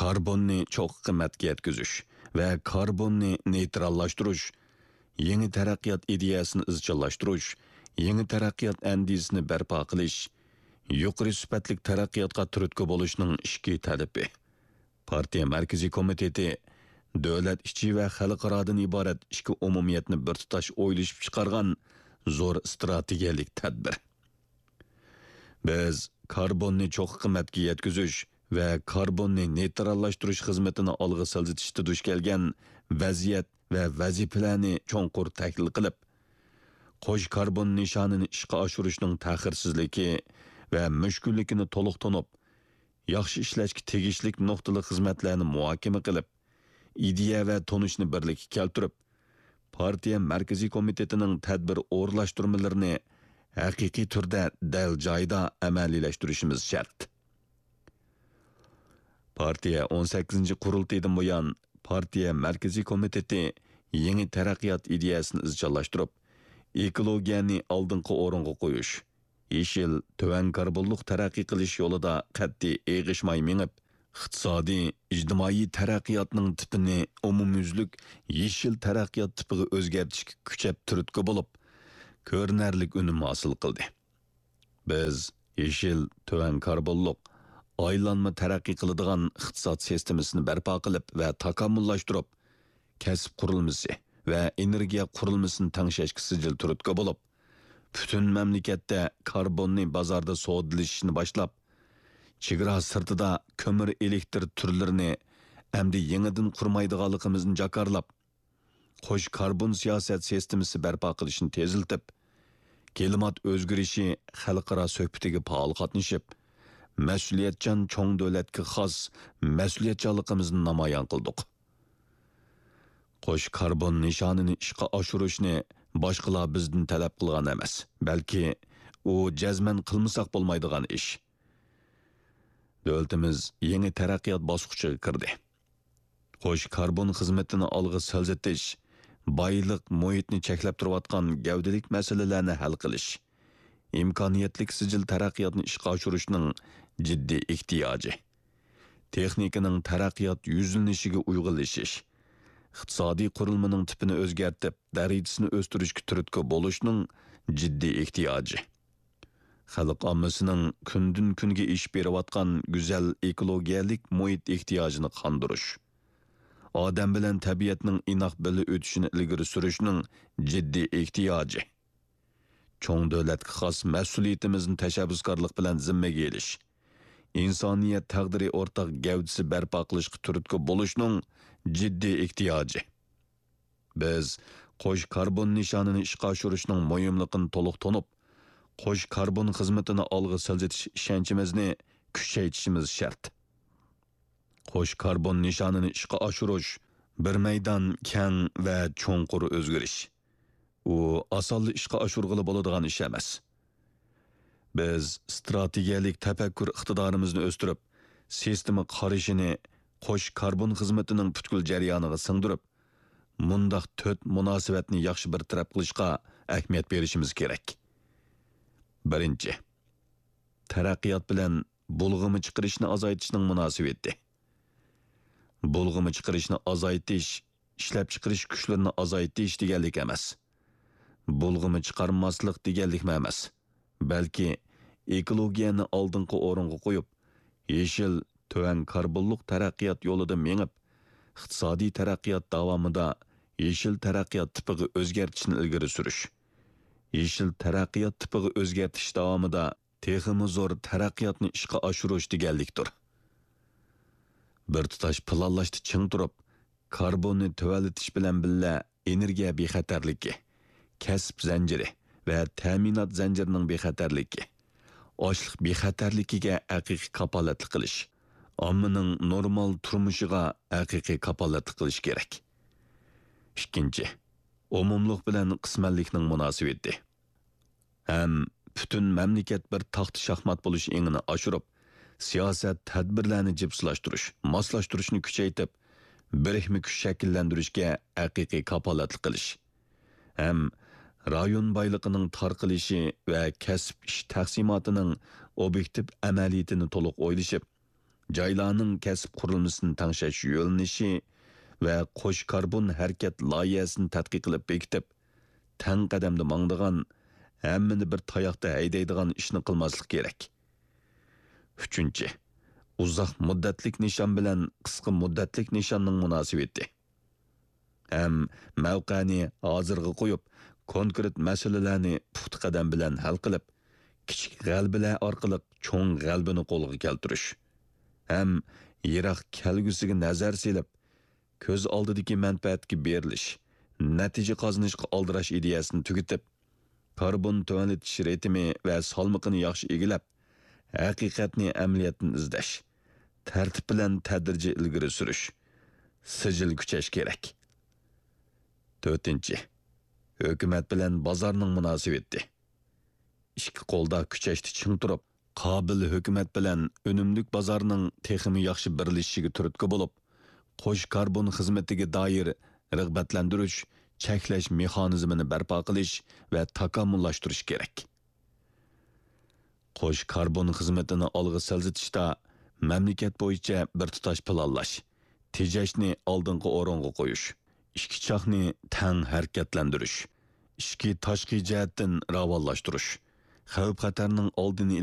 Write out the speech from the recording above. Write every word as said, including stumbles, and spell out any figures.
كاربوننى چوققا قىممەتكە يەتكۈزۈش ۋە كاربوننى نېيتراللاشتۇرۇش، يېڭى تەرەققىيات ئىدىيەسىنى ئىزچىللاشتۇرۇش، يېڭى تەرەققىيات ئەندىزىسىنى بەرپا قىلىش، يۇقىرى سۈپەتلىك تەرەققىياتقا تۈرتكە بولۇشنىڭ ئىككى تەلىپى. پارتىيە مەركىزىي كومىتېتى دۆلەت ئىچى ۋە خەلقئارادىن ئىبارەت ئىككى ئومۇمىيەتنى بىر تۇتاش ئويلىشىپ چىقارغان زور ئىستراتېگىيەلىك تەدبىر. بىز كاربوننى چوققا قىممەتكە يەتكۈزۈش ۋە كاربوننى نېيتراللاشتۇرۇش خىزمىتىنى ئالغا سىلجىتىشتا دۇچ كەلگەن ۋەزىيەت ۋە ۋەزىپىلەرنى چوڭقۇر تەھلىل قىلىپ، قوش كاربون نىشانىنى ئىشقا ئاشۇرۇشنىڭ تەخىرسىزلىكى ۋە مۈشكۈللۈكىنى تولۇق تونۇپ، ياخشى ئىشلەشكە تېگىشلىك نۇقتىلىق خىزمەتلەرنى مۇھاكىمە قىلىپ، ئىدىيە ۋە تونۇشنى بىرلىككە كەلتۈرۈپ، پارتىيە مەركىزىي كومىتېتىنىڭ تەدبىر ئورۇنلاشتۇرمىلىرىنى ھەقىقىي تۈردە دەل جايىدا ئەمەلىيلەشتۈرۈشىمىز شەرت. پارتىيە ئون سەككىزىنچى قۇرۇلتىيىدىن بۇيان، پارتىيە مەركىزىي كومىتېتى يېڭى تەرەققىيات ئىدىيەسىنى ئىزچىللاشتۇرۇپ، ئېكولوگىيەنى ئالدىنقى ئورۇنغا قويۇش، يېشىل، تۆۋەن كاربونلۇق تەرەققىي قىلىش يولىدا قەتئىي ئېغىشماي مېڭىپ، ئىقتىسادىي، ئىجتىمائىي تەرەققىياتنىڭ تىپىنى ئومۇميۈزلۈك يېشىل تەرەققىيات تىپىغا ئۆزگەرتىشكە كۈچەپ تۈرتكە بولۇپ، كۆرۈنەرلىك ئۈنۈم ھاسىل قىلدى. بىز يېشىل، تۆۋەن كاربونلۇق، ئايلانما تەرەققىي قىلىدىغان ئىقتىساد سىستېمىسىنى بەرپا قىلىپ ۋە تاكامۇللاشتۇرۇپ، كەسىپ قۇرۇلمىسى ۋە ئېنېرگىيە قۇرۇلمىسىنى تەڭشەشكە سىجىل تۈرتكە بولۇپ، پۈتۈن مەملىكەتتە كاربوننى بازاردا سودىلىشىشنى باشلاپ، چېگرا سىرتىدا كۆمۈر ئېلېكتر تۈرلىرىنى ئەمدى يېڭىدىن قۇرمايدىغانلىقىمىزنى جاكارلاپ، قوش كاربون سىياسەت سىستېمىسى بەرپا قىلىشنى تېزلىتىپ، كىلىمات ئۆزگىرىشى خەلقئارا سۆھبىتىگە پائال قاتنىشىپ، مەسئۇلىيەتچان چوڭ دۆلەتكە خاس مەسئۇلىيەتچانلىقىمىزنى نامايان قىلدۇق. قوش كاربون نىشانىنى ئىشقا ئاشۇرۇشنى باشقىلار بىزدىن تەلەپ قىلغان ئەمەس، بەلكى ئۇ جەزمەن قىلمىساق بولمايدىغان ئىش. دۆلىتىمىز يېڭى تەرەققىيات باسقۇچىغا كىردى. قوش كاربون خىزمىتىنى ئالغا سىلجىتىش، بايلىق، مۇھىتنى چەكلەپ تۇرۇۋاتقان گەۋدىلىك مەسىلىلەرنى ھەل قىلىش، ئىمكانىيەتلىك سىجىل تەرەققىياتنى ئىشقا ئاشۇرۇشنىڭ جىددىي ئېھتىياجى. تېخنىكىنىڭ تەرەققىيات يۈزلىنىشىگە ئۇيغۇنلىشىش، ئىقتىسادىي قۇرۇلمىنىڭ تىپىنى ئۆزگەرتىپ، دەرىجىسىنى ئۆستۈرۈشكە تۈرتكە بولۇشنىڭ جىددىي ئېھتىياجى. خەلق ئاممىسىنىڭ كۈندىن-كۈنگە ئېشىپ بېرىۋاتقان گۈزەل ئېكولوگىيەلىك مۇھىت ئېھتىياجىنى قاندۇرۇش، ئادەم بىلەن تەبىئەتنىڭ ئىناق بىللە ئۆتۈشىنى ئىلگىرى سۈرۈشنىڭ جىددىي ئېھتىياجى. چوڭ دۆلەتكە خاس مەسئۇلىيىتىمىزنى تەشەببۇسكارلىق بىلەن زىممىگە ئېلىش، ئىنسانىيەت تەقدىرى ئورتاق گەۋدىسى بەرپا قىلىشقا تۈرتكە بولۇشنىڭ جىددىي ئېھتىياجى. بىز قوش كاربون نىشانىنى ئىشقا ئاشۇرۇشنىڭ مۇھىملىقىنى تولۇق تونۇپ، قوش كاربون خىزمىتىنى ئالغا سىلجىتىش ئىشەنچىمىزنى كۈچەيتىشىمىز شەرت. قوش كاربون نىشانىنى ئىشقا ئاشۇرۇش بىر مەيدان كەڭ ۋە چوڭقۇر ئۆزگىرىش. ئۇ ئاسانلا ئىشقا ئاشۇرغىلى بولىدىغان ئىش ئەمەس. بىز ئىستراتېگىيەلىك تەپەككۇر ئىقتىدارىمىزنى ئۆستۈرۈپ، سىستېما قارىشىنى قوش كاربون خىزمىتىنىڭ پۈتكۈل جەريانىغا سىڭدۈرۈپ، مۇنداق تۆت مۇناسىۋەتنى ياخشى بىر تەرەپ قىلىشقا ئەھمىيەت بېرىشىمىز كېرەك. بىرىنچى، تەرەققىيات بىلەن بۇلغىما چىقىرىشنى ئازايتىشنىڭ مۇناسىۋىتى. بۇلغىما چىقىرىشنى ئازايتىش ئىشلەپچىقىرىش كۈچلىرىنى ئازايتىش دېگەنلىك ئەمەس. بۇلغىما چىقارماسلىق دېگەنلىكمۇ ئەمەس. بەلكى ئېكولوگىيەنى ئالدىنقى ئورۇنغا قويۇپ، يېشىل، تۆۋەن كاربونلۇق تەرەققىيات يولىدا مېڭىپ، ئىقتىسادىي تەرەققىيات داۋامىدا يېشىل تەرەققىيات تىپىغا ئۆزگەرتىشنى ئىلگىرى سۈرۈش، يېشىل تەرەققىيات تىپىغا ئۆزگەرتىش داۋامىدا تېخىمۇ زور تەرەققىياتنى ئىشقا ئاشۇرۇش دېگەنلىكتۇر. بىر تۇتاش پىلانلاشتا چىڭ تۇرۇپ، كاربوننى تۆۋەنلىتىش بىلەن بىللە، ئېنېرگىيە بىخەتەرلىكى، كەسىپ زەنجىرى ۋە تەمىنات زەنجىرىنىڭ بىخەتەرلىكى، ئاشلىق بىخەتەرلىكىگە ھەقىقىي كاپالەتلىك قىلىش، ئاممىنىڭ نورمال تۇرمۇشىغا ھەقىقىي كاپالەتلىك قىلىش كېرەك. ئىككىنچى، ئومۇملۇق بىلەن قىسمەنلىكنىڭ مۇناسىۋىتى. ھەم پۈتۈن مەملىكەت بىر تاختا شاھمات بولۇش ئېڭىنى ئاشۇرۇپ، سىياسەت، تەدبىرلەرنى جىپسىلاشتۇرۇش، ماسلاشتۇرۇشنى كۈچەيتىپ، بىرىكمە كۈچ شەكىللەندۈرۈشكە ھەقىقىي كاپالەتلىك قىلىش ھەم رايون بايلىقىنىڭ تارقىلىشى ۋە كەسىپ ئىش تەقسىماتىنىڭ ئوبيېكتىپ ئەمەلىيىتىنى تولۇق ئويلىشىپ، جايلارنىڭ كەسىپ قۇرۇلمىسىنى تەڭشەش يۆنىلىشى ۋە قوش كاربون ھەرىكەت لايىھەسىنى تەتقىق قىلىپ بېكىتىپ، تەڭ قەدەمدە ماڭىدىغان، ھەممىنى بىر تاياقتا ھەيدەيدىغان ئىشنى قىلماسلىق كېرەك. ئۈچىنچى، ئۇزاق مۇددەتلىك نىشان بىلەن قىسقا مۇددەتلىك نىشاننىڭ مۇناسىۋىتى. ھەم مەۋقەنى ھازىرغا قويۇپ، كونكرېت مەسىلىلەرنى پۇختا قەدەم بىلەن ھەل قىلىپ، كىچىك غەلىبىلەر ئارقىلىق چوڭ غەلىبىنى قولغا كەلتۈرۈش. ھەم يىراق كەلگۈسىگە نەزەر سېلىپ، كۆز ئالدىدىكى مەنپەئەتكە بېرىلىش، نەتىجە قازىنىشقا ئالدىراش ئىدىيەسىنى تۈگىتىپ، كاربون تۆۋەنلىتىش رىتىمى ۋە سالمىقىنى ياخشى ئىگىلەپ، ھەقىقەتنى ئەمەلىيەتتىن ئىزدەش، تەرتىپ بىلەن تەدرىجىي ئىلگىرى سۈرۈش، سىجىل كۈچەش كېرەك. تۆتىنچى، ھۆكۈمەت بىلەن بازارنىڭ مۇناسىۋىتى. ئىككى قولدا كۈچەشتە چىڭ تۇرۇپ، قابىل ھۆكۈمەت بىلەن ئۈنۈملۈك بازارنىڭ تېخىمۇ ياخشى بىرلىشىشىگە تۈرتكە بولۇپ، قوش كاربون خىزمىتىگە دائىر رىغبەتلەندۈرۈش، چەكلەش مېخانىزمىنى بەرپا قىلىش ۋە تاكامۇللاشتۇرۇش كېرەك. قوش كاربون خىزمىتىنى ئالغا سىلجىتىشتا مەملىكەت بويىچە بىر تۇتاش پىلانلاش، تېجەشنى ئالدىنقى ئورۇنغا قويۇش، ئىككى چاقنى تەڭ ھەرىكەتلەندۈرۈش، ئىچكى تاشقى جەھەتتىن راۋانلاشتۇرۇش، خەۋپ-خەتەرنىڭ ئالدىنى